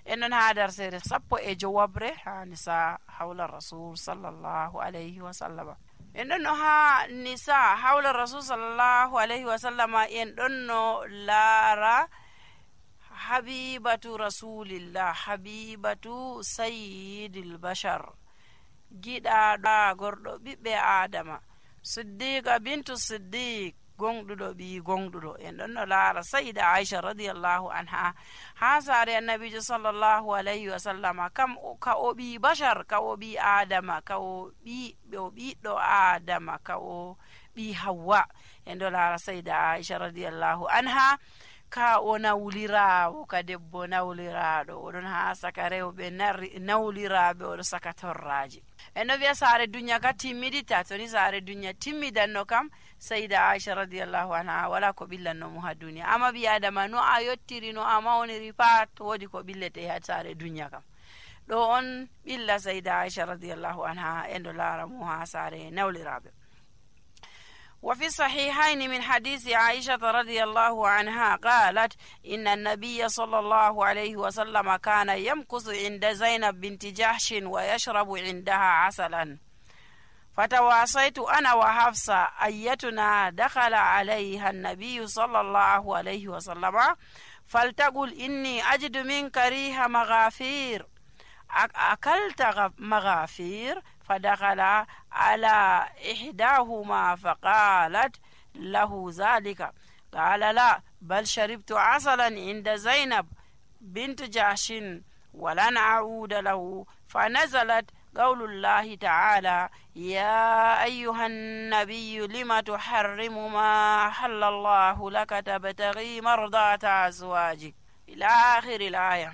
en non ha darsere 15 ha nisa hawla rasul sallallahu alayhi wa sallama. En ɗon no ha nisa hawla rasul sallallahu alayhi wa sallama en ɗon no laara habibatu rasulillah, habibatu sayyidil bashar, giɗaɗo gorɗo ɓiɓɓe adama, siddiqa bintu siddiq, gonɗuɗo ɓi gonɗuɗo. En ɗon no laara sayida aicha radiyallahu anha ha saare annabijo sallallahu alayhi wa sallama, kam ka o ɓi bashar, ka o ɓi adama, ka o ɓiɗɗo adama, ka o ɓi hawwa. en ɗo laara sayida aicha radiyallahu anha ka o nawlirawo, ka debbo nawliraɗo, oɗon ha saka rewɓe nawliraɓe, oɗo saka torraji. en ɗo wiya saare duniya ka timmidita, toni saare duniya timmidanno kam sayida aicha radiyallahu anha wala ko ɓillannomo ha duniya. amma ɓi adama no a yottiri, no a mawniri pat, wodi ko ɓillete ha saare duniya kam. ɗo on ɓilla sayida aicha radiyallahu anha, en ɗo laara mo ha saare nawliraɓe. وفي الصحيحين من حديث عائشة رضي الله عنها قالت إن النبي صلى الله عليه وسلم كان يمكث عند زينب بنت جحش ويشرب عندها عسلا، فتواصيت أنا وحفصة أيتنا دخل عليها النبي صلى الله عليه وسلم فلتقل إني أجد منك ريح مغافير، أكلت مغافير؟ فدخل على إحداهما فقالت له ذلك، قال لا، بل شربت عسلا عند زينب بنت جحش ولن أعود له. فنزلت قول الله تعالى: يا أيها النبي لم تحرم ما حل الله لك تبتغي مرضات أزواجك، إلى آخر الآية.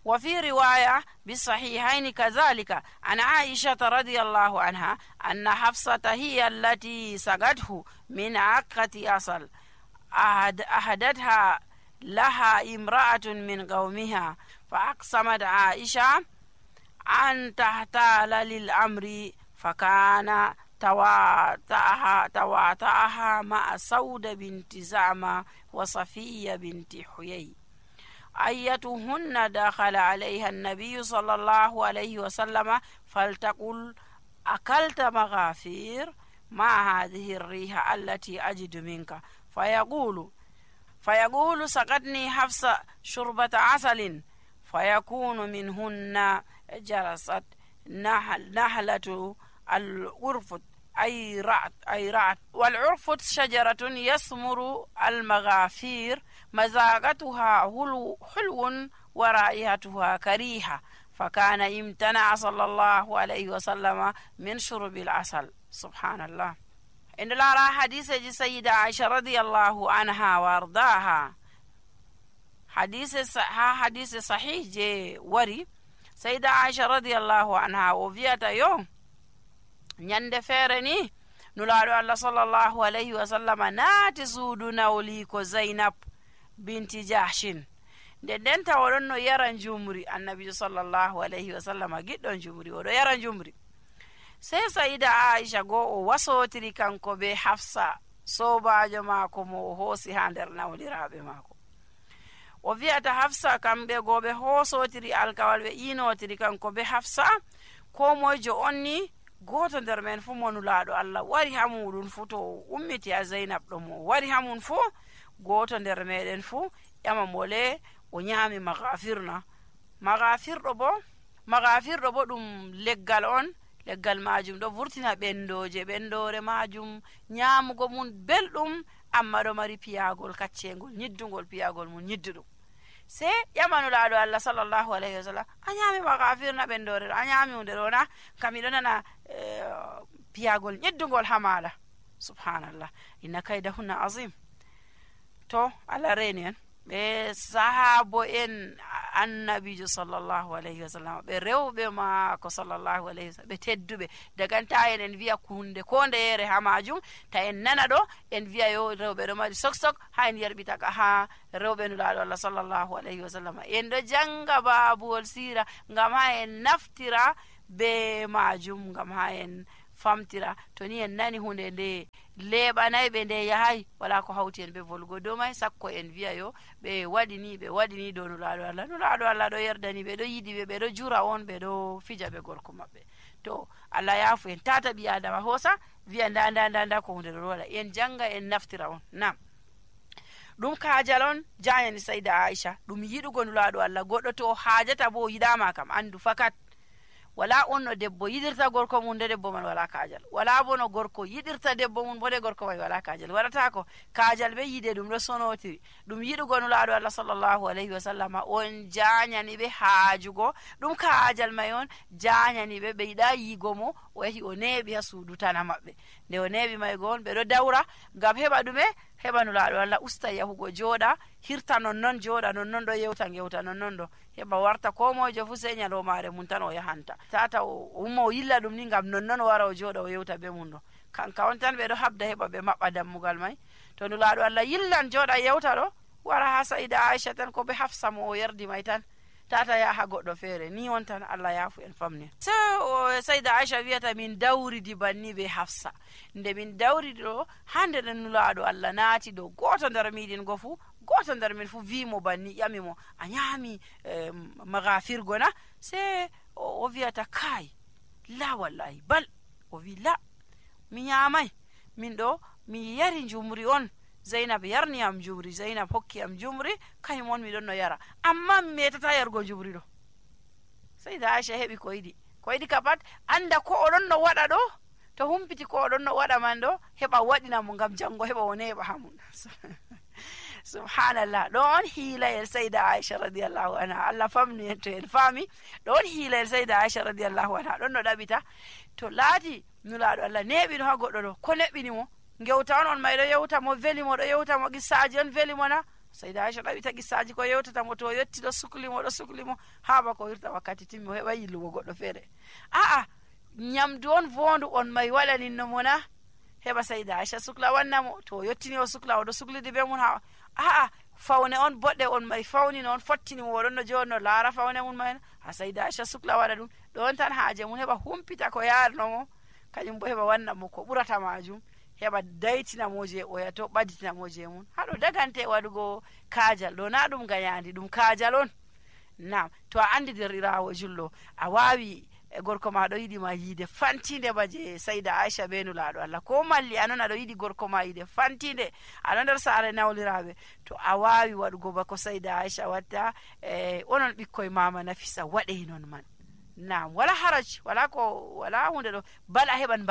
وفي رواية بالصحيحين كذلك عن عائشة رضي الله عنها أن حفصة هي التي سقته من عقة أصل أهدتها لها امرأة من قومها، فأقسمت عائشة أن تحتال للأمر، فكان تواتأها مع سودة بنت زعمة وصفية بنت حيي أيتهن دخل عليها النبي صلى الله عليه وسلم فلتقل أكلت مغافير ما هذه الريحة التي أجد منك، فيقول سقتني حفصة شربة عسل، فيكون منهن جرست نحلة العرفت أي رعت، والعرفت شجرة يثمر المغافير، مذاقتها حلو ورائحتها كريهة، فكان امتنع صلى الله عليه وسلم من شرب العسل. سبحان الله. إن لا حديث سيدة عائشة رضي الله عنها وارضاها، حديث صحيح جي وري سيدة عائشة رضي الله عنها وفيتا يوم nyande feere ni nulaaɗo Allah sallallahu alayhi wa sallama naati suudu nawli ko Zainab binti Jahshin. nden tawa ɗon no yara njumri, annabijo sallallahu alayhi wa sallama giɗɗo njumri, oɗo yara njumri. sey sayida Aisha go o wasotiri kanko be Hafsa sobajo maako mo o hoosi ha nder nawliraɓe maako. o wiyata Hafsa kamɓe go ɓe hoosotiri alkawal, ɓe inotiri kanko be Hafsa, ko moyjo on ni goto nder men fu mo nulaaɗo Allah wari ha muɗum fu, to ummiti a Zainab ɗo mo wari ha mum fu, goto nder meɗen fu ƴama mole o ñaami magafirna. magafirɗo bo ɗum leggal on, leggal majum ɗo vurtina ɓendore majum, ñamugo mum belɗum, amma ɗo mari piyagol kaccengol ñiddugol, piyagol mum ñidduɗum. se ƴamanulaaɗo Allah sallallahu alayhi wa sallam, a ñaami magafirna ɓendore ɗo, a ñaami hunde ɗo na, kam miɗo nana piyagol ñiddugol ha maɗa. subhanallah, inna kaydahunna azim. to Allah reni en ɓe sahabo en annabijo sallallahu alayhi wa sallam, ɓe rewɓe maako sallallahu alayhi wa sallam, ɓe tedduɓe. daganta en wiya hunde ko ndeyere ha majum, ta en nana ɗo en wiya yo rewɓe ɗo mari sok ha en yerbitaka ha rewɓe nulaaɗo Allah sallallahu alayhi wa sallam. en ɗo janga babuwol sira ngam ha en naftira be majum, ngam ha en famtira. to ni en nani hunde nde leɓanayɓe nde yahay wala ko hawti en ɓe volgo dow may sakko en wiya yo ɓe waɗini dow nulaaɗo Allah ɗo yerdani ɓe ɗo yiɗi ɓe ɗo jura on ɓe ɗo fija ɓe gorko maɓɓe. To Allah yaafu en tata ɓi adama hoosa wiya nda ko hunde ɗo waɗa en janga en naftira on. Nam ɗum kaajal on jayani sayda Aisha ɗum yiɗugo nulaaɗo Allah. Goɗɗo to haajata bo yiɗama kam andu fakat wala on no debbo yiɗirta gorko mum nde debbo man wala kaajal, wala bo no gorko yiɗirta debbo mum bo nde gorko man wala kaajal. waɗata ko kaajal be yide ɗum ɗo sonotiri. ɗum yiɗugo nulaaɗo Allah sallallahu alayhi wa sallam on janyani ɓe haajugo ɗum kaajal may on janyani ɓe yiɗa yigo mo o yahi o neeɓi ha suudu tana maɓɓe. nde o neeɓi may go on ɓe ɗo dawra ngam heɓa ɗume heɓa nulaaɗo Allah usta yahugo jooɗa hirta nonnon jooɗa nonnon ɗo yewta nonnon ɗo heɓa warta ko mojo fu sey nyalomare mum tan o yahanta tata o umma o yilla ɗum ni ngam nonnon o wara o jooɗa o yewta be mum ɗo. kanka on tan ɓe ɗo habda heɓa ɓe maɓɓa dammugal may. to nulaaɗo Allah yillan jooɗa yewta ɗo wara ha sayda Aisha tan ko be Hafsa mo o yerdi may tan tata yaha goɗɗo feere ni on tan. Allah yaafu en famni. so sayda Aisha wiyata min dawridi banni be Hafsa. nde min dawridi ɗo hande ɗen nulaaɗo Allah naati dow goto nder miɗin go fu goto nder min fu wimo banni ƴami mo a ñaami magafirgo na se o wiyata kay la wallahi bal o wi la mi ñamay min ɗo mi yari jumri on Zainab yarni am jumri Zainab hokki am jumri kañum on miɗon no yara amma mi metata yargo jumri ɗo. sayda Aisha heɓi ko yiɗi ka pat anda ko oɗon no waɗa ɗo to humpiti ko oɗon no waɗa man ɗo heɓa waɗina mo ngam jango heɓa o neɓa ha mum. subhanallah ɗo on hiilayel sayda Aisha radiyallahu anha. Allah famni en to en faami ɗo on hiilayel sayda Aisha radiyallahu anha ɗon no ɗaɓita to laati nulaaɗo Allah neɓino ha goɗɗo ɗo ko neɓɓini mo gewta on may ɗo yewta mo veli mo ɗo yewta mo qissaji on veli mo na sayda Aisha ɗaɓita qissaji ko yewtata mo to yetti ɗo sukli mo ha ba ko wirta wakkati timmi o heɓa yillugo goɗɗo feere. a'a nyamdu on vondu on may waɗaninno mo na heɓa sayda Aisha sukla wanna mo to yettini o sukla oɗo suklidi be mum ha a'a fawne on boɗɗe on may fawni no on fottini mo oɗon no jooɗi no laara fawne mum may ha sayda Aisha sukla waɗa ɗum ɗon tan haaje mum heɓa humpita ko yarno mo kañum bo heɓa wanna mo ko ɓurata majum heɓa daytina mo je oya to ɓaditina mo je mum haɗo dagante waɗugo kaajal ɗo na ɗum gayandi ɗum kaajal on. nam to a andi derɗirawo jullo a wawi gorko ma ɗo yiɗima yiide fantinde ba je sayda Aisha be nulaaɗo Allah ko malli anon aɗo yiɗi gorko ma yiide fantinde aɗo nder saare nawliraɓe to a wawi waɗugo bako sayda Aisha watta onon ɓikkoye mama Nafisa waɗe non man. nam wala haraj wala hunde ɗo bal a heɓan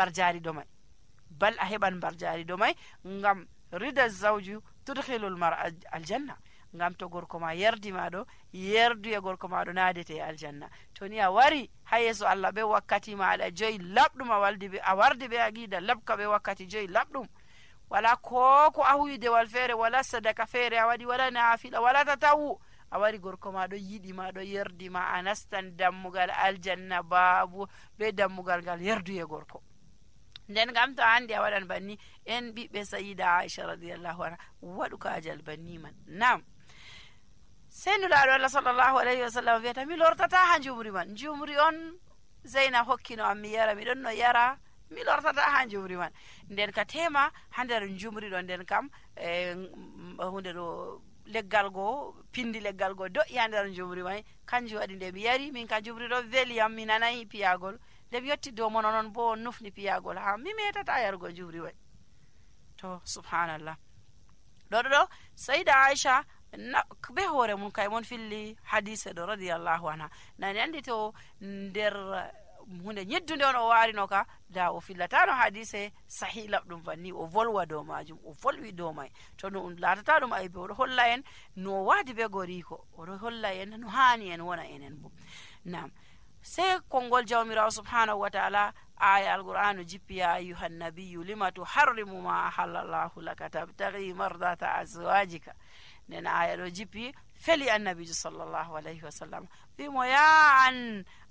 mbar jari do may ngam rida zawju tudkhilul mar'a aljanna. ngam to gorko ma yerdima ɗo yerduye gorko ma ɗo naadete aljanna. to ni a wari ha yeeso Allah be wakkati maɗa joyi labɗum a wardi be aqida labka be wakkati joyi labɗum wala ko a huwi dewal feere wala sadaka feere a waɗi wala naafila wala tatawu a wari gorko ma ɗo yiɗima ɗo yerdima a nastan dammugal aljanna baabu be dammugal ngal yerduye gorko. nden gam to hande a waɗan banni en ɓiɓɓe sayida Aisha radiyallahu anha waɗu kaajal banni man. nam sey nulaaɗo Allah sallallahu alayhi wa sallam wiyata mi lortata ha jumri man. jumri on Zainab hokkino am mi yara miɗon no yara mi lortata ha jumri man. nden ka tema ha nder jumri ɗo nden kam hunde ɗo leggal go pindi leggal go do'i ha nder jumri may kanjum waɗi nde mi yari min ka jumri ɗo veli am mi nanayi piyagol nde mi yetti dow mono noon bo nufni piyagol ha mi metata yarugo jumri way. to subhanallah ɗo sayda Aisha be hoore mum kay mon filli hadise ɗo radiyallahu anha nani andi to nder hunde ñeddude on o warino ka da o fillatano hadise sahi laɓɗum banni o volwa dow majum o volwi dow may to no latata ɗum aybe oɗo holla en no wadi be goriko oɗo holla en no hani en wona enen bo. nam se kongol jawmirawo subhanahu wa ta'ala aya alqur'anu jippi ya ayyuhan nabiyyu lima tuharrimu ma ahallallahu laka tabtaghi mardata azwajika. nden aya ɗo jippi feli annabijo sallallahu alayhi wa sallam wimo ya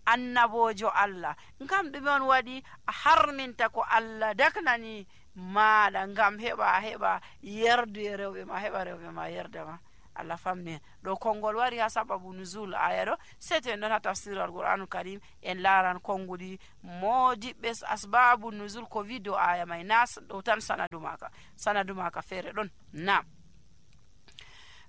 annabojo Allah ngam ɗume on waɗi a harminta ko Allah daknani maɗa ngam heɓa yerduye rewɓe ma heɓa rewɓe ma yerdama. Allah famni en ɗo konngol wari ha sababu nuzul aya ɗo. Sey to en ɗon ha tafsir alqur'anul karim en laran konngudi modiɓɓe asbabu nuzul ko wi dow aya mai na ɗo tan sanadu maka feere ɗon. Nam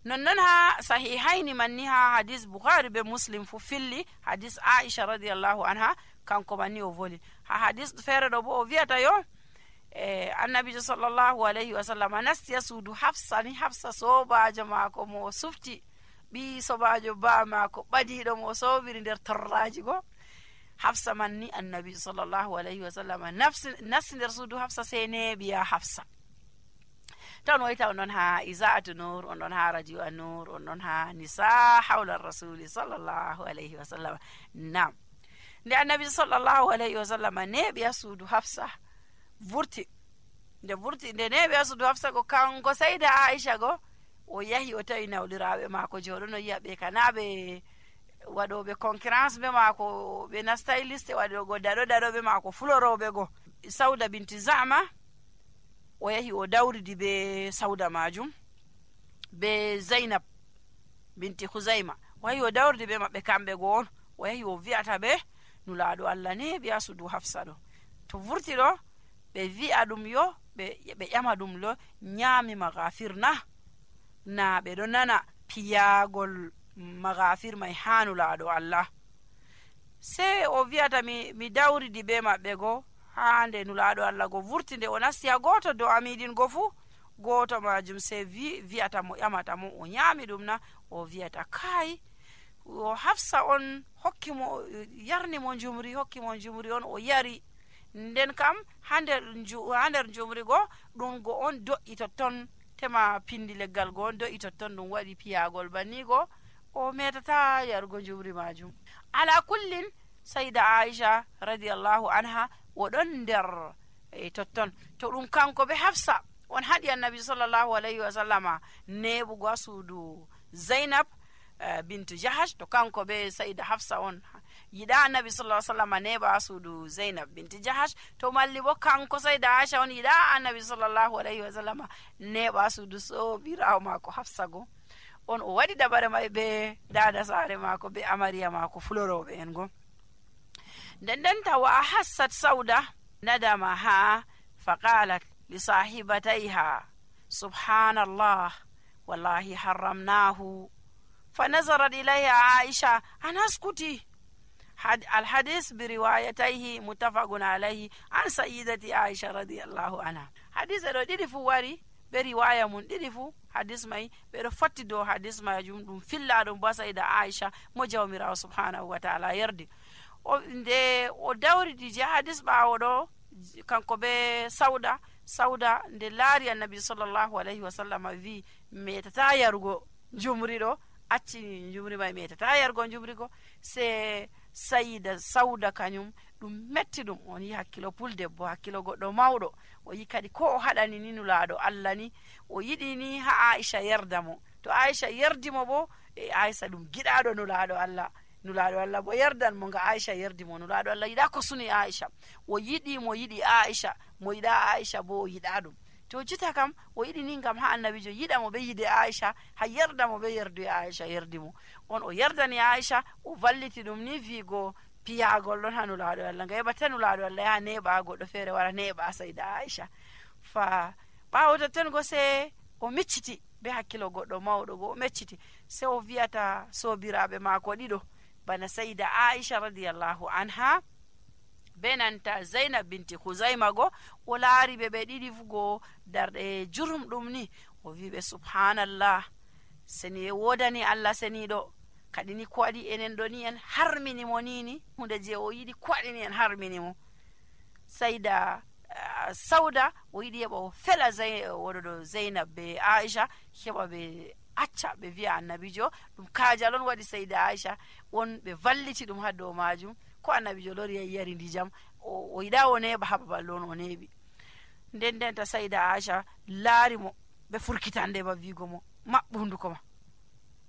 nonnon ha sahihaini manni ha hadis bukhari be muslim fu filli hadis aisha radiyallahu anha kanko manni o voli ha hadis feere ɗo bo o wiyata yo annabijo sallllahu alayhi wa sallam nastiya suudu hafsa sobajo maako mo o sufti ɓi sobajo ba maako ɓadiɗo mo o sobiri nder torraji go. Hafsa manni annabijo sallllahu alayhi wa sallam nasti nder suudu hafsa sey neɓiya hafsa tan woyta on ɗon ha isaatu nour, on ɗon ha radio a nour, on ɗon ha nisa hawla rasuli sallllahu alayhi wa sallam. Nam nde annabijo sallllahu alayhi wa sallam neɓiya suudu hafsa vurti nde neɓi asudu hafsa ko kanko sayda aisha go o yahi o tawi nawliraɓe maako joɗono yiya ɓe kanaɓe waɗoɓe concurrence ɓe maako ɓe nastay liste waɗogo daɗoɓe maako fuloroɓe go. Sauda binti Zama o yahi o dawridi be Sauda majum be Zainab binti Khuzaima o yahi o dawridi be maɓɓe kamɓe go on o yahi o wi'ata ɓe nulaɗo Allah neɓi asudu hafsa ɗo to vurti ɗo ɓe wi'a ɗum yo ɓe ƴama ɗum lo ñaami magafir na ɓe ɗo nana piyagol magafir mai ha nulaɗo Allah. Sey o wi'ata mi dawridi be maɓɓe go ha nde nulaɗo Allah go vurti nde o nasti ha goto dow amiɗin go fu goto majum sey wi'ata mo ƴamata mo o ñaami ɗum na o wi'ata kai o hafsa on hokkimo yarni mo njumri hokkimo njumri on o yari nden kam ha nder njumri go ɗum go on do'i totton tema pindi leggal go on do'i totton ɗum waɗi piyagol banni go o metata yarugo njumri majum. Ala kullin sayda aisha radiyallahu anha woɗon nder totton to ɗum kanko be hafsa on haɗi annabi sallllahu alayhi wa sallama neɓugo ha suudu Zainab bintu Jahash to kanko be sayda hafsa on yiɗa annabi sallallahu alaihi wasallam neɓa suudu Zainab binti Jahash to malli bo kanko sayda Aisha on yiɗa annabi sallallahu alaihi wasallam neɓa suudu sobirawo mako Hafsa go on o waɗi dabare mai be dada sare mako be amariya mako fuloroɓe en go. nden tawa hassat Sauda nadama ha faqalat li sahibatayha subhanallah wallahi harramnahu فنظرت إليها عائشة أن أسكتي. الحديث بروايتيه متفق عليه عن سيدة عائشة رضي الله عنها. حديث دي فواري برواية من دي فو حديث ماي برفتي دو حديث ما يجوم في الله دم بسيدة عائشة مجاومرا سبحانه وتعالى يردي o dawri dije hadis ɓawo ɗo kanko be sauda nde laari annabi sallllahu alayhi wa sallam wi metata yarugo njumri ɗo acci njumri mai metata yargo njumri go se sayida Sauda kanyum ɗum metti ɗum on yi hakkilo puldebbo hakkilo goɗɗo mawɗo o yi kadi ko o haɗani ni nulaɗo Allah ni o yiɗi ni ha Aisha yerda mo to Aisha yerdi mo bo Aisha ɗum giɗaɗo nulaɗo Allah bo yerdan mo nga Aisha yerdi mo nulaɗo Allah yiɗa ko suni Aisha o yiɗi mo yiɗi Aisha mo yiɗa Aisha bo o yiɗa ɗum to jita kam o yiɗi ni ngam ha annabijo yiɗa mo be yide Aisha ha yerda mo be yerdu Aisha yerdi mo on o yerdani Aisha o valliti ɗum ni vigo piyagol ɗon ha nulaɗo Allah nga heɓata nulaɗo Allah yaha neɓa goɗɗo feere wara neɓa sayda Aisha fa ɓawo totten go se o micciti be hakkilo goɗɗo mawɗo go o mecciti se o wiyata sobiraɓe maako ɗiɗo bana sayda Aisha radiyallahu anha benanta Zainab binti Khuzaima go o laari ɓe ɗiɗi fugo darɗe jurum ɗum ni o wiɓe subhanallah seni wodani Allah seniɗo kadi ni ko waɗi enen ɗo ni en harmini mo nini hunde je o yiɗi ko waɗi ni en harmini mo. Sayda Sauda o yiɗi heɓa o fela woɗoɗo Zainab be Aisha heɓa ɓe acca ɓe wiya annabijo ɗum kajal on waɗi sayda Aisha on ɓe valliti ɗum ha dow majum ko annabijo lori yari ndijam o yiɗa o neɓa ha babal on o neɓi nden ta sayda Aisha laari mo ɓe furkitande ba wigo mo maɓɓu hunduko ma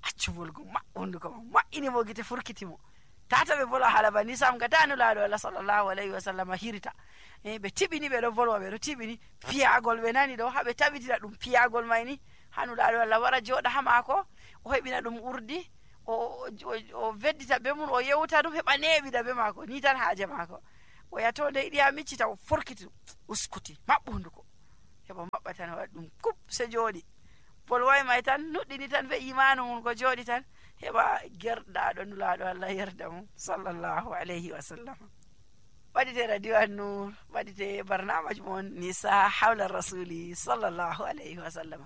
accu volgo maɓɓu hunduko ma maɓɓini mo gite furkiti mo tata ɓe vola haala ba ni sam ga tanu laaɗo Allah sallallahu alayhi wa sallam hirita ɓe tiɓini ɓe ɗo volwa ɓe ɗo tiɓini piyagol ɓe nani ɗo haɓe taɓitina ɗum piyagol may ni hanu laaɗo Allah wara joɗa ha maako o heɓina ɗum urdi o veddita be mum, o yewta ɗum heɓa neɓida be maako, ni tan haaje maako. o yato nde yiɗi ha miccita o forkiti uskuti maɓɓu hunduko heɓa maɓɓa tan waɗi ɗum kup se jooɗi. bolway may tan nuɗɗini tan be imanu mum ko jooɗi tan heɓa gerɗaɗo nulaɗo Allah yerda mum sallallahu alayhi wa sallam. waɗite radio An-Nur, waɗite barnamaj mon nisa hawla rasuli sallallahu alayhi wa sallam.